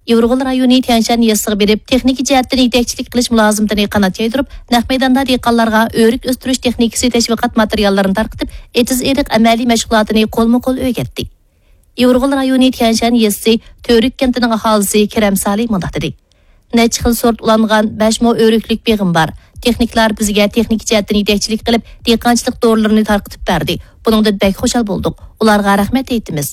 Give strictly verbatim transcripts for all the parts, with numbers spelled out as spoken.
ئىۋغۇل رايونى تيەنشان يېزىسىغا بېرىپ، تېخنىكا جەھەتتىن يېتەكچىلىك قىلىش مۇلازىمىتىنى قانات يايدۇرۇپ، نەق مەيداندا دېھقانلارغا ئۆرۈك ئۆستۈرۈش تېخنىكىسى تەشۋىقات ماتېرىياللىرىنى تارقىتىپ، ئېتىز-ئېرىق ئەمەلىي مەشغۇلاتىنى قولمۇ قول ئۆگەتتى. ئىۋغۇل رايونى تيەنشان يېزىسى تۆرۈك كەنتىنىڭ ئاھالىسى كېرەم سالى مۇنداق دېدى: نەچچە خىل سورت ئۇلانغان بەش مو ئۆرۈكلۈك بېغىم بار. تېخنىكلار بىزگە تېخنىكا جەھەتتىن يېتەكچىلىك قىلىپ، دېھقانچىلىق دورىلىرىنى تارقىتىپ بەردى. بۇنىڭدىن بەك خۇشال بولدۇق. ئۇلارغا رەھمەت ئېيتىمىز.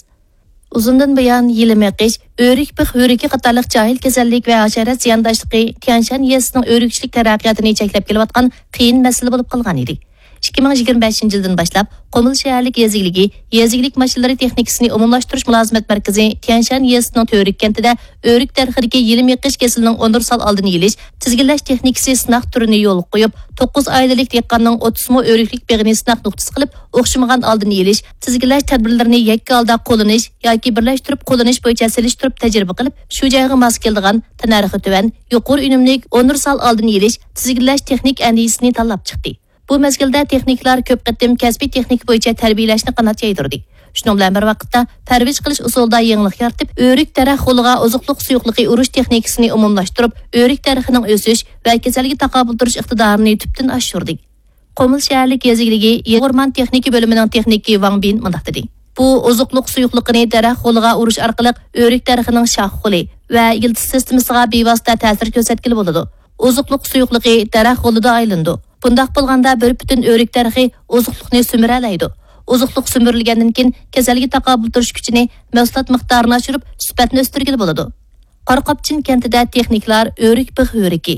ئۇزۇندىن بۇيان يېلىم ئېقىش، ئۆرۈك بىخ ھۆرىكى قاتارلىق جاھىل كېسەللىك ۋە ھاشارات زىيانداشلىقى تيەنشان يېزىسىنىڭ ئۆرۈكچىلىك تەرەققىياتىنى چەكلەپ كېلىۋاتقان قىيىن مەسىلە بولۇپ قالغان ئىدى. ئىككى مىڭ يىگىرمە بەشىنچى يىلدىن باشلاپ، قۇمۇل شەھەرلىك يېزا ئىگىلىكى، يېزا ئىگىلىك ماشىنىلىرى تېخنىكىسىنى ئومۇملاشتۇرۇش مۇلازىمەت مەركىزى تيەنشان يېزىسىنىڭ تۆرۈك كەنتىدە ئۆرۈك دەرىخىدىكى يېلىم ئېقىش كېسىلىنىڭ ئۇنىۋېرسال ئالدىنى ئېلىش، تىزگىنلەش تېخنىكىسى سىناق تۈرىنى يولغا قويۇپ، توققۇز ئائىلىلىك دېھقاننىڭ ئوتتۇز مو ئۆرۈكلۈك بېغىنى سىناق نۇقتىسى قىلىپ، ئوخشىمىغان ئالدىنى ئېلىش، تىزگىنلەش تەدبىرلىرىنى يەككە ھالدا قوللىنىش ياكى بىرلەشتۈرۈپ قوللىنىش بويىچە سېلىشتۇرۇپ تەجرىبە قىلىپ، شۇ جايغا ماس كېلىدىغان، تەننەرخى تۆۋەن، يۇقىرى ئۈنۈملۈك، ئۇنىۋېرسال ئالدىنى ئېلىش، تىزگىنلەش تېخنىك ئەندىزىسىنى تاللاپ چىقتى. بۇ مەزگىلدە تېخنىكلار كۆپ قېتىم كەسپىي تېخنىكا بويىچە تەربىيەلەشنى قانات يايدۇردى. شۇنىڭ بىلەن بىر ۋاقىتتا، پەرۋىش قىلىش ئۇسۇلىدا يېڭىلىق يارىتىپ، ئۆرۈك دەرەخ غولىغا ئوزۇقلۇق سۇيۇقلۇقى ئۇرۇش تېخنىكىسىنى ئومۇملاشتۇرۇپ، ئۆرۈك دەرىخىنىڭ ئۆسۈش ۋە كېسەلگە تاقابىل تۇرۇش ئىقتىدارىنى تۈپتىن ئاشۇردى. قۇمۇل شەھەرلىك يېزا ئىگىلىكى يېزا ئورمان تېخنىكا بۆلۈمىنىڭ تېخنىكى ۋاڭ بىن مۇنداق دېدى: بۇ ئوزۇقلۇق سۇيۇقلۇقىنى دەرەخ غولىغا ئۇرۇش ئارقىلىق ئۆرۈك دەرىخىنىڭ شاخ غولى ۋە يىلتىز سىستېمىسىغا بىۋاسىتە تەسىر كۆرسەتكىلى بولىدۇ. ئوزۇقلۇق سۇيۇقلۇقى دەرەخ غولىدا ئايلىنىدۇ. بۇنداق بولغاندا بىر پۈتۈن ئۆرۈك دەرىخى ئوزۇقلۇقنى سۈمۈرەلەيدۇ. ئوزۇقلۇق سۈمۈرۈلگەندىن كېيىن كېسەلگە تاقابىل تۇرۇش كۈچىنى، مەھسۇلات مىقدارىنى ئاشۇرۇپ، سۈپەتنى ئۆستۈرگىلى بولىدۇ. قاراقاپچىن كەنتىدە تېخنىكلار ئۆرۈك بىخ ھۆرىكى،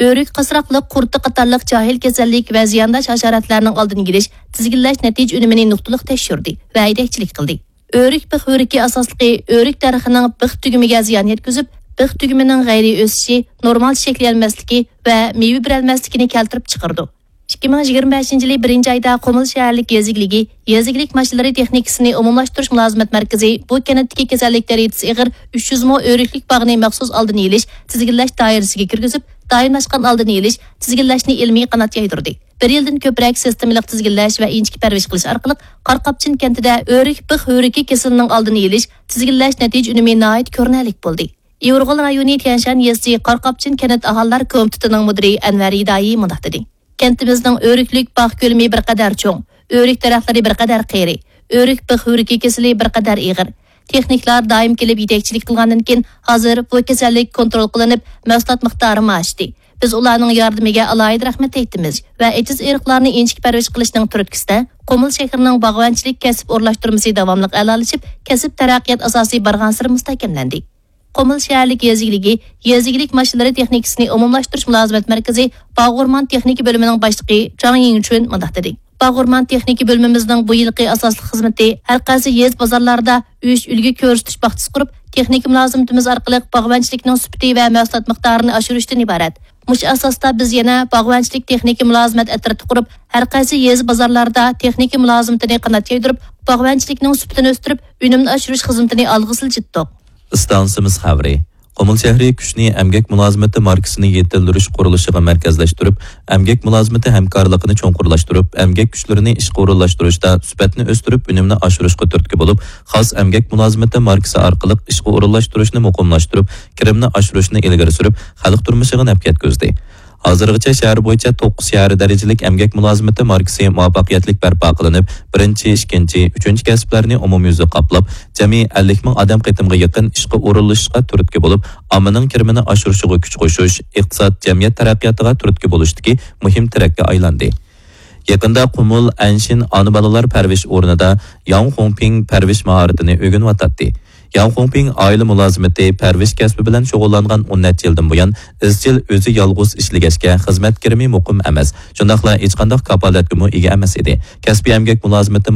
ئۆرۈك قاسراقلىق قۇرتى قاتارلىق جاھىل كېسەللىك ۋە زىيانداش ھاشاراتلارنىڭ ئالدىنى ئېلىش، تىزگىنلەش نەتىجە ئۈنۈمىنى نۇقتىلىق تەكشۈردى ۋە يېتەكچىلىك قىلدى. ئۆرۈك بىخ ھۆرىكى ئاساسلىقى ئۆرۈك دەرىخىنىڭ بىخ تۈگۈمىگە زىيان يەتكۈزۈپ، بىخ تۈگۈمىنىڭ غەيرىي ئۆسۈشى، نورمال چېچەكلىيەلمەسلىكى ۋە مېۋە بېرەلمەسلىكىنى كەلتۈرۈپ چىقىرىدۇ. ئىككى مىڭ يىگىرمە بەشىنچى يىلى بىرىنچى ئايدا قۇمۇل شەھەرلىك يېزا ئىگىلىكى، يېزا ئىگىلىك ماشىنىلىرى تېخنىكىسىنى ئومۇملاشتۇرۇش مۇلازىمەت مەركىزى بۇ كەنتتىكى كېسەللىك دەرىجىسى ئېغىر ئۈچ يۈز مو ئۆرۈكلۈك باغنى مەخسۇس ئالدىنى ئېلىش، تىزگىنلەش دائىرىسىگە كىرگۈزۈپ، دائىملاشقان ئالدىنى ئېلىش، تىزگىنلەشنى ئىلمىي قانات يايدۇردى. بىر يىلدىن كۆپرەك سىستېمىلىق تىزگىنلەش ۋە ئىنچىكە پەرۋىش قىلىش ئارقىلىق قاراقاپچىن كەنتىدە ئۆرۈك بىخ ھۆرىكى كېسىلىنىڭ ئالدىنى ئېلىش، تىزگىنلەش نەتىجە ئۈنۈمى ناھايىتى كۆرۈنەرلىك بولدى. ئىۋغۇل رايونى تيەنشان يېزىسى قاراقاپچىن كەنت ئاھالىلەر كومىتېتىنىڭ مۇدىرى ئەنۋەر ھىدايى مۇنداق دېدى: كەنتىمىزنىڭ ئۆرۈكلۈك باغ كۆلىمى بىر قەدەر چوڭ، ئۆرۈك دەرەخلىرى بىر قەدەر قېرى، ئۆرۈك بىخ ھۆرىكى كېسىلى بىر قەدەر ئېغىر. تېخنىكلار دائىم كېلىپ يېتەكچىلىك قىلغاندىن كېيىن، ھازىر بۇ كېسەللىك كونترول قىلىنىپ، مەھسۇلات مىقدارىمۇ ئاشتى. بىز ئۇلارنىڭ ياردىمىگە ئالاھىدە رەھمەت ئېيتىمىز ۋە ئېتىز-ئېرىقلارنى ئىنچىكە پەرۋىش قىلىشنىڭ تۈرتكىسىدە، قۇمۇل شەھىرىنىڭ باغۋەنچىلىك كەسىپ ئورۇنلاشتۇرمىسى داۋاملىق ئەلالىشىپ، كەسىپ تەرەققىيات ئاساسى بارغانسېرى مۇستەھكەملەندى. قۇمۇل شەھەرلىك يېزا ئىگىلىكى، يېزا ئىگىلىك ماشىنىلىرى تېخنىكىسىنى ئومۇملاشتۇرۇش مۇلازىمەت مەركىزى باغ ئورمان تېخنىكا بۆلۈمىنىڭ باشلىقى جاڭ يىڭچۈن مۇنداق دېدى: باغ ئورمان تېخنىكا بۆلۈمىمىزنىڭ بۇ يىلقى ئاساسلىق خىزمىتى ھەر قايسى يېزا بازارلاردا ئۈچ ئۈلگە كۆرسىتىش باغچىسى قۇرۇپ، تېخنىكا مۇلازىمىتىمىز ئارقىلىق باغۋەنچىلىكنىڭ سۈپىتى ۋە مەھسۇلات مىقدارىنى ئاشۇرۇشتىن ئىبارەت. مۇشۇ ئاساستا بىز يەنە باغۋەنچىلىك تېخنىكا مۇلازىمەت ئەترىتى قۇرۇپ، ھەر قايسى يېزا بازارلاردا تېخنىكا مۇلازىمىتىنى قانات يايدۇرۇپ، باغۋەنچىلىكنىڭ سۈپىتىنى ئۆستۈرۈپ، ئۈنۈمنى ئاشۇرۇش خىزمىتىنى ئالغا سىلجىتتۇق. ئىستانسىمىز خەۋىرى. قۇمۇل شەھىرى كۈچنى ئەمگەك مۇلازىمىتى ماركىسىنى يېتىلدۈرۈش قۇرۇلۇشىغا مەركەزلەشتۈرۈپ، ئەمگەك مۇلازىمىتى ھەمكارلىقىنى چوڭقۇرلاشتۇرۇپ، ئەمگەك كۈچلىرىنى ئىشقا ئورۇنلاشتۇرۇشتا سۈپەتنى ئۆستۈرۈپ، ئۈنۈمنى ئاشۇرۇشقا تۈرتكە بولۇپ، خاس ئەمگەك مۇلازىمىتى ماركىسى ئارقىلىق ئىشقا ئورۇنلاشتۇرۇشنى مۇقىملاشتۇرۇپ، كىرىمنى ئاشۇرۇشنى ئىلگىرى سۈرۈپ، خەلق تۇرمۇشىغا نەپ يەتكۈزدى. ھازىرغىچە شەھەر بويىچە توققۇز شەھەر دەرىجىلىك ئەمگەك مۇلازىمىتى ماركىسى مۇۋەپپەقىيەتلىك بەرپا قىلىنىپ، بىرىنچى، ئىككىنچى، ئۈچىنچى كەسىپلەرنى ئومۇميۈزلۈك قاپلاپ، جەمئىي ئەللىك مىڭ ئادەم قېتىمغا يېقىن ئىشقا ئورۇنلىشىشقا تۈرتكە بولۇپ، ئاممىنىڭ كىرىمىنى ئاشۇرۇشىغا كۈچ قوشۇش، ئىقتىساد، جەمئىيەت تەرەققىياتىغا تۈرتكە بولۇشتىكى مۇھىم تىرەككە ئايلاندى. يېقىندا قۇمۇل ئەنشىن ئانا بالىلار پەرۋىش ئورنىدا ياڭ خۇڭپىڭ پەرۋىش ماھارىتىنى ئۆگىنىۋاتاتتى. ياڭ خۇڭپىڭ ئائىلە مۇلازىمىتى، پەرۋىش كەسپى بىلەن شۇغۇللانغان ئون نەچچە يىلدىن بۇيان ئىزچىل ئۆزى يالغۇز ئىشلىگەچكە، خىزمەت كىرىمى مۇقىم ئەمەس، شۇنداقلا ھېچقانداق كاپالەتكىمۇ ئىگە ئەمەس ئىدى. كەسپىي ئەمگەك مۇلازىمىتى ماركىسى